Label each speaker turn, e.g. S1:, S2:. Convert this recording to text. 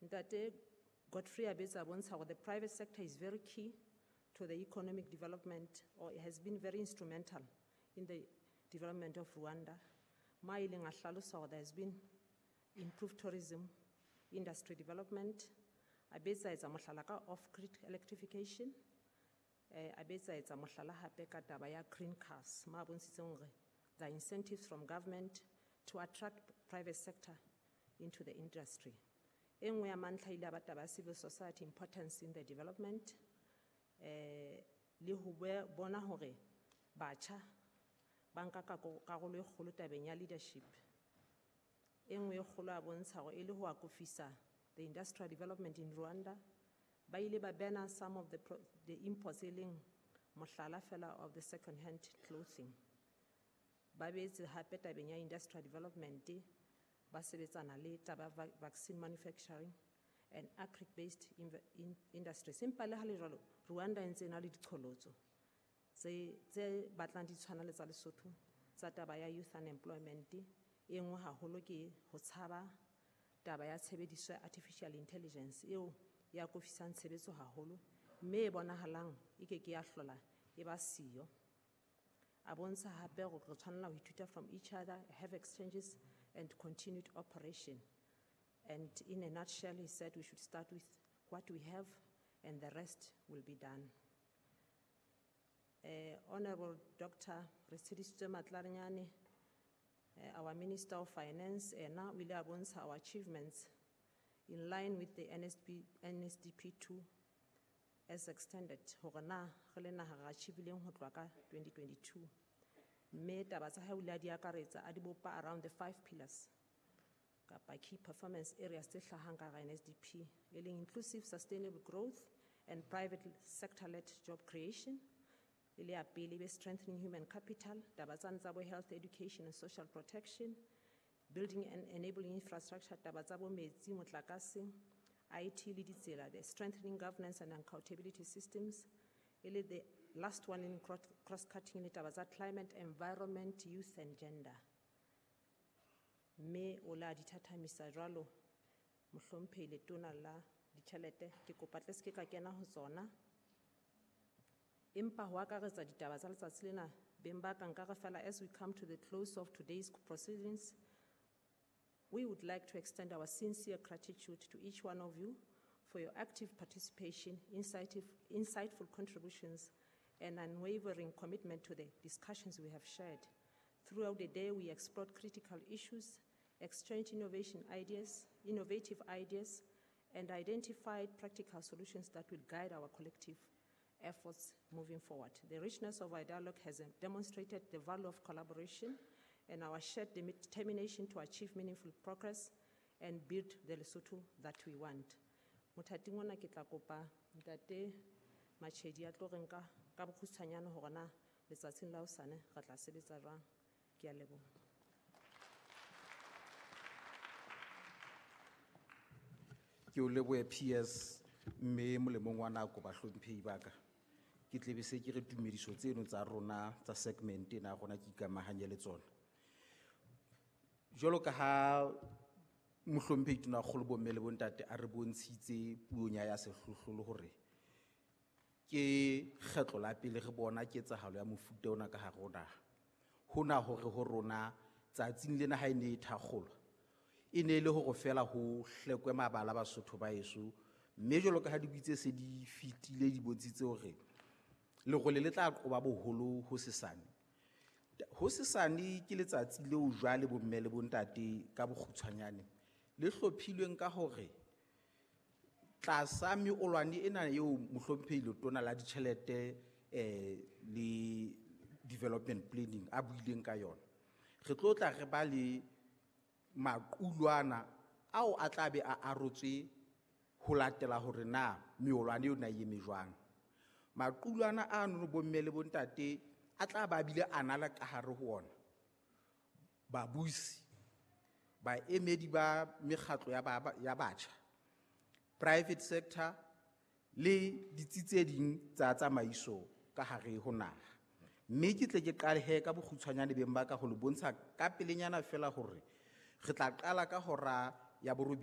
S1: Ntate Godfrey a betsa bontsha hore the private sector is very key to the economic development, or it has been very instrumental in the development of Rwanda. Ma ileng a hlalosa hore there has been improved tourism, industry development, a betsa etsa mohlala ka off-grid electrification, a betsa etsa mohlala hape ka taba ya green cars, ma bontshitseng hore the incentives from government to attract private sector into the industry. E nngwe ya mantlha ile ya ba taba ya civil society importance in the development, le ho bona hore batjha ba nka karolo e kgolo tabeng ya leadership. E nngwe e kgolo a bontsha hore e le ho akofisa the industrial development in Rwanda, ba ile ba bana some of the imports e leng mohlala fela of the second-hand clothing. Ba beetse hape tabeng ya industrial development, ba sebetsana le taba ya vaccine manufacturing and agric-based industries. Empa le ha le jwalo, Rwanda e ntse e na le diqholotso tse batlang di tshwana le tsa Lesotho, tsa taba ya youth unemployment. E nngwe haholo ke ho tshaba taba ya tshebediso ya artificial intelligence eo ya akofisang tshebetso haholo, mme e bonahalang e ke ke ya hlola e ba siyo. A bontsha hape hore re tshwanela ho ithuta from each other, have exchanges and continued operation. And in a nutshell, he said we should start with what we have and the rest will be done. Honorable Doctor Retshidisitswe Matladinyane, our Minister of Finance, ena o ile a bontsha our achievements in line with the NSDP 2 as extended, hore na re le naha re achieve-ileng ho tloha ka 2022. Mme taba tsa hae o ile a di akaretsa, a di bopa around the 5 pillars kapa key performance areas tse hlahang ka hara NSDP, e leng inclusive sustainable growth and private sector-led job creation, e le ya pele, e be strengthening human capital, taba tsane tsa bo health, education and social protection, building and enabling infrastructure, taba tsa bo metsi, motlakase, IT le ditsela, the strengthening governance and accountability systems, e le the last one in cross-cutting le taba tsa climate, environment, youth and gender. Mme o la di thathamisa jwalo, mohlomphehi letona la ditjhelete, ke kopa tle se ke ka kena ho tsona. Empa ho akaretsa ditaba tsa letsatsi lena, beng ba ka nka re fela as we come to the close of today's proceedings, we would like to extend our sincere gratitude to each one of you for your active participation, insightful contributions, and unwavering commitment to the discussions we have shared. Throughout the day, we explored critical issues, exchanged innovative ideas, and identified practical solutions that will guide our collective efforts moving forward. The richness of our dialogue has demonstrated the value of collaboration and our shared determination to achieve meaningful progress and build the Lesotho that we want. Mothating ona ke tla kopa Ntate Machedi a tlo re nka ka bokgutshwanyane hore na letsatsing la hosane re tla sebetsa jwang. Ke a leboha.
S2: Ke o lebohe PS mme molemong wa nako bahlomphehi ba ka. Ke tlebe se ke re tumediso tseno tsa rona tsa segment ena ya rona ke ikamahanye le tsona. Jwalo ka ha mohlomphehi Tonakgolo bomme le bontate a re bontshitse puong ya sehlohlolo hore ke kgetlo la pele re bona ketsahalo ya mofuta ona ka hare ho naha. Hona hore ho rona tsatsing lena ha e ne e thakgolwa, e ne e le hore feela ho hlekwe mabala Basotho ba heso, mme jwalo ka ha dibui tse se di fetile di bontshitse hore lerole le tla qoba boholo ho sesane. Ho sesane ke letsatsi leo jwale bomme le bontate ka bokgutshwanyane le hlophilweng ka hore tlasa meolwane ena eo mohlomphehi Letona la Ditjhelete, le Development Planning a buileng ka yona, re tlo tla re ba le maqulwana ao a tla be a arotswe ho latela hore na meolwane eo na e eme jwang. Maqulwana ano bomme le bontate a tla ba bile a na le ka hare ho ona babusi, baemedi ba mekgatlo ya batjha, private sector le ditsi tse ding tsa tsamaiso ka hare ho naha. Mme ke tle ke qale he ka bokgutshwanyane beng ba ka ho le bontsha ka pelenyana feela hore re tla qala ka hora ya borobedi.